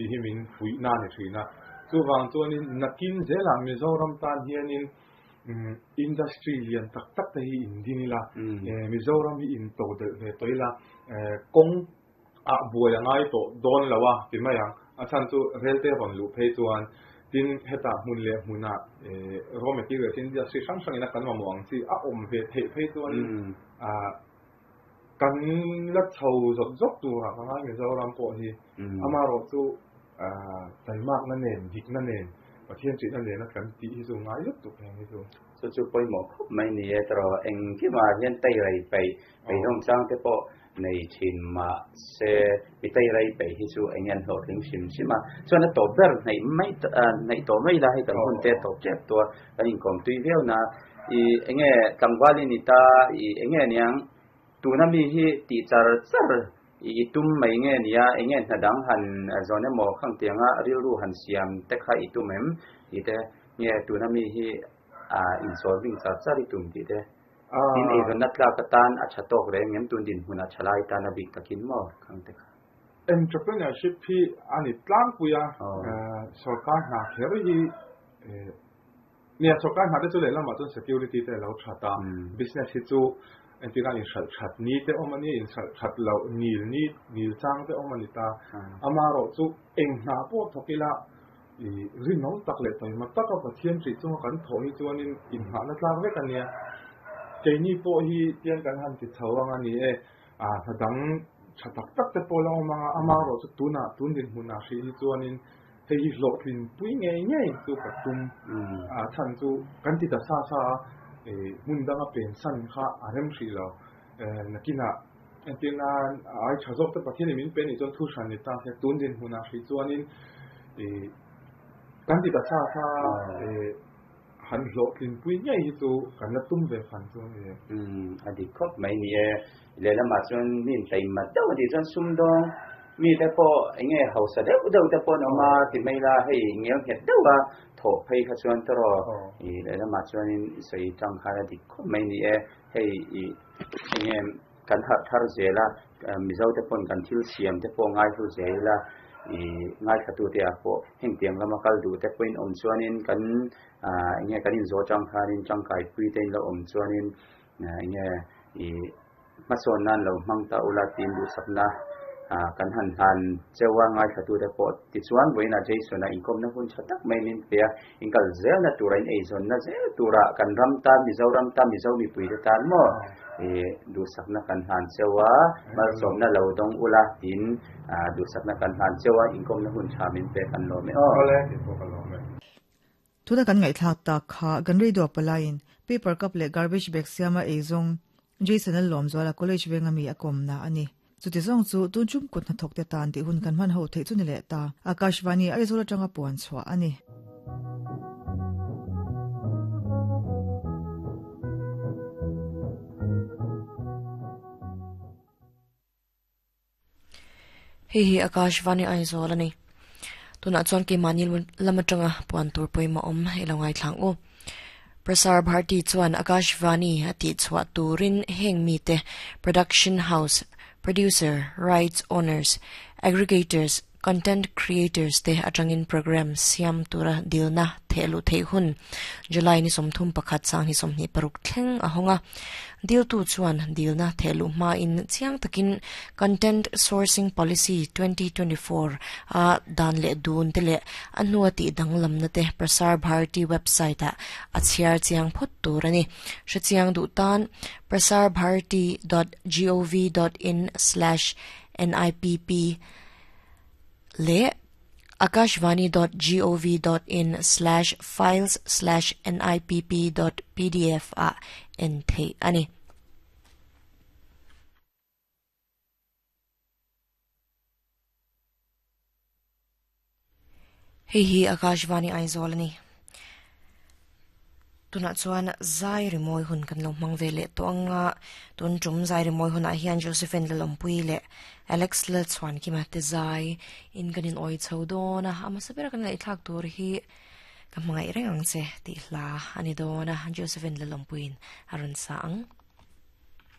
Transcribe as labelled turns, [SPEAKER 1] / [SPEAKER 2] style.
[SPEAKER 1] Tih hi min fuihna a ni thin a. Chuvang chuanin nakin zelah Mizoram tan hianin industry lian tak tak te hi in din ila, Mizoram hi in to delh ve tawh ila, kawng ah buai a ngai tawh dawn lo a ti mai ang. A chhan chu rel te rawn luh phei chuan tin hetah hmun leh hmunah raw materials industry hrang hrangin a kan mamawh ang chi a awm ve theih phei chuanin Kan la chho zawt zawt turah ka ngai Mizoram pawh hi. Amaherawh chu taimakna nen, dikna nen, Pathian ṭihna nena kan tih hi chu ngai lutuk heng hi chu.
[SPEAKER 2] Chu chu pawimawh khawp mai ni e tawrh engkimah hian teirai peih beidawng chang te pawh nei thin mah se mi teirai peih hi chu eng nge an hlawhtling hrim hrim a. Chuan a tawp ber hnaih mai hnaih tawh mai la hei kan hun te tawp tep tua kan inkawm tui viau na i eng nge tlangval i ni ta i eng nge niang tuna mi hi tih char char i tum mai nge nia eng nge hna dang han zawn emaw khang tianga rilru han siam te kha i tum em tih te nge tuna mi hi a insawi hming char char i tum tih te tin eizawnna tlak atan a tha tawk reng em tun dinhmun a tha lai tan a bik takin maw khang te kha.
[SPEAKER 1] Entrepreneurship hi a ni tlangpui a, sorkar hna kher hi Nia, sorkar hna te chu lehlamah chuan security te a lo that a, business hi chu entirah inhralh that ni te awm a ni, inhralh that loh nil ni, nil chang te awm a ni ta. Amaherawh chu eng hna pawh thawk ila i rinawm tak leh taima taka Pathian hrih chunga kan thawh hi chuanin inngahna tlak vek a nia. Keini pawh hi tiang kan han ti chho ang a ni e, hna dang tha tak tak te pawh la awm ang a, amaherawh chu tunah tun dinhmunah hrih hi chuanin Hei hi hlawhtlin pui ngei ngei chu ka tum. A chhan chu kan ti ta sa sa a, hmun danga pensan kha a rem hrih lo. Nakinah entir nan a ai tha zawk te Pathianin min pe nih chuan thu hran ni ta se tun dinhmunah hrih chuanin kan ti ta sa sa a, han hlawhtlin pui ngei hi chu kan la tum ve fan chu a ni.
[SPEAKER 2] A dik khawp mai ni e. Lehlamah chuan mi intaima deuh a tih chuan sumdawng mite pawh eng nge hausa deuh deuh te pawh an awm a ti mai la, hei ngel nghet deuh a thawh phei kha chuan tawrh i lehlamah chuanin i sawi tang khan a dik khawp mai ni e. Hei i eng nge kan harh thar zel a, Mizo te pawn kan thil siam te pawh ngaihlu zel ila i ngaithlatute ah pawh hengtiang lama kal duh te pawhin awm chuanin kan eng nge kan inzawh atang khanin tangkaipui te in lo awm chuanin Eng nge i hmasawn nan lo hmang ta ula tiin duhsakna kan han hlan cheu a, ngaithlatute pawh tichuan vawiinah Jason-a inkawmna hun tha tak mai min pe a, inkal zelna tura in eizawnna zel tura kan ram tan, Mizoram tan, Mizo mipuite tan maw i duhsakna kan hlan cheu a, malsawmna lo dawng ula tiin duhsakna kan hlan cheu a, inkawmna hun tha min pe kan lawm e aw.
[SPEAKER 1] Awle, kei pawh ka lawm e.
[SPEAKER 3] Tuna kan ngaihthlak tak kha kan radio palaiin paper cup leh garbage bag siama eizawng Jason a lawm zuala college venga mi a kawmna a ni. Chuti zawng chu tun chum kut hnathawk te tan tih hun kan hman ho theih chu ni leh ta. Akashvani Aizawl atanga puan chhuah a ni.
[SPEAKER 4] Hei hi Akashvani Aizawl a ni. Tunah chuan keimahni lam atanga puan tur pawimawh awm i lo ngaithlang u. Prasar Bharti chuan Akashvani a tih chhuah turin heng mite production house, producer, rights owners, aggregators, content creators te atangin program siam tura dilna thehluh theih hun July ni 31 2026 thleng a hawng a. Diltu chuan dilna thehluh hmain chiang takin Content Sourcing Policy 2024 a dan leh dun te leh a hnua tih danglamna te Prasar Bharati website ah a chhiar chiang phawt tur a ni. Hrechiang duh tan prasarbharati dot gov dot in slash nipp leh akashvani dot gov dot in slash files slash nipp dot pdf ah en theih a ni. Hei hi Akashvani Aizawl a ni. Tunah chuan zai rimawi hun kan lo hmang ve leh tawh ang a, tun tum zai rimawi hunah hian Josephine Lalawmpuii leh Alex Lalchhuankima te zai in kan in awi chho dawn a, a hmasa bera kan ngaihthlak tur hi ka hmangaih reng ang che tih hla a ni dawn a, Josephine Lalawmpuiin a rawn sa ang.